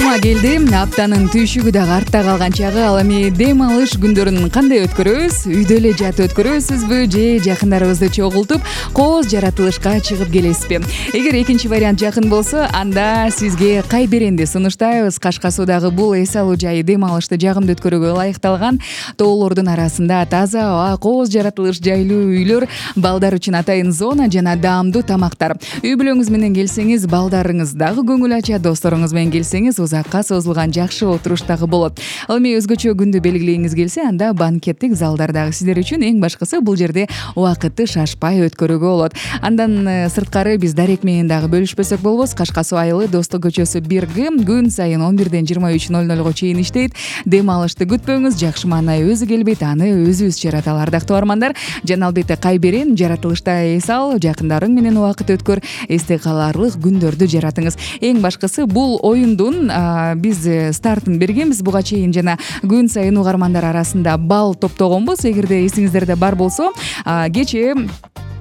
Жума келди. Аптанын түйшүгү дагы артта калган чагы. Ал эми дем алыш күндөрүн кандай өткөрөбүз? Үйдө эле жатып өткөрөсүзбү же жакындарыбызды чогултуп кооз жаратылышка чыгып келесизби? Эгер экинчи вариант жакын болсо, анда сизге кай беренди сунуштайбыз. Кашка Суудагы бул эс алуу жайы дем алышты жагымдуу өткөрүүгө ылайыкталган. Тоолордун арасында таза аба, кооз жаратылыш жайлуу үйлөр, балдар үчүн атайын зона жана даамдуу тамактар. Үй бүлөңүз менен келсеңиз, балдарыңыз дагы көңүл ача, досторуңуз менен келсеңиз, узакка созулган жакшы отуруш дагы болот. Ал эми өзгөчө күндү белгилейиңиз келсе, анда банкеттик залдар дагы сиздер үчүн. Эң башкысы бул жерде убакытты шашпай өткөрүүгө болот. Андан сырткары биз дарек менен дагы бөлүшпөсөк болбос. Кашка Суу айылы Достук көчөсү 1Г күн сайын 11-ден 23:00 чейин иштейт. Дем алышты күтпөңүз, жакшы маанай өзү келбейт, аны өзүбүз жараталы. Ардактуу угармандар, жана албетте кай берен жаратылышта эс ал, жакындарың менен убакыт өткөр, эсте калаарлык күндөрдү жаратыңыз. Эң башкысы бул оюндун биз стартын бергенбиз буга чейин, жана күн сайын угармандар арасында балл топтогонбуз. Эгерде эсиңиздерде бар болсо, кечээ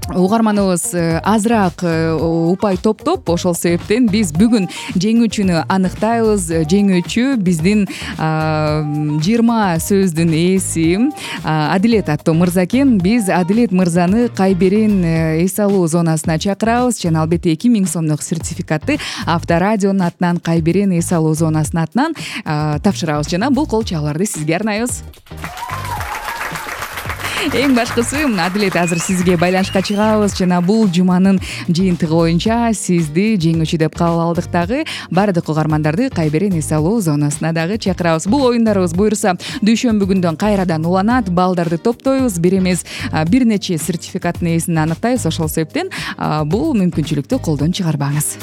угарманыбыз азыраак упай топтоп, ошол себептен биз бүгүн жеңүүчүнү аныктайбыз. Жеңүүчү биздин 20 сөздүн ээси Адилет аттуу мырза экен. Биз Адилет мырзаны кай берен эс алуу зонасына чакырабыз, жана албетте 2000 сомдук сертификатты Авторадионун атынан, кай берен эс алуу зонасынын атынан тапшырабыз, жана бул кол чабууларды сизге арнайбыз. Эң башкысы, Адилет, азыр сизге байланышка чыгабыз, жана бул жуманын жыйынтыгы боюнча сизди жеңүүчү деп кабыл алдык. Дагы баардык угармандарды кай берен эс алуу зонасына дагы чакырабыз. Бул оюндарыбыз буюрса дүйшөмбү күндөн кайрадан уланат. Балдарды топтойбуз, бир эмес бир нече сертификаттын ээсин аныктайбыз. Ошол себептен бул мүмкүнчүлүктү колдон чыгарбаңыз.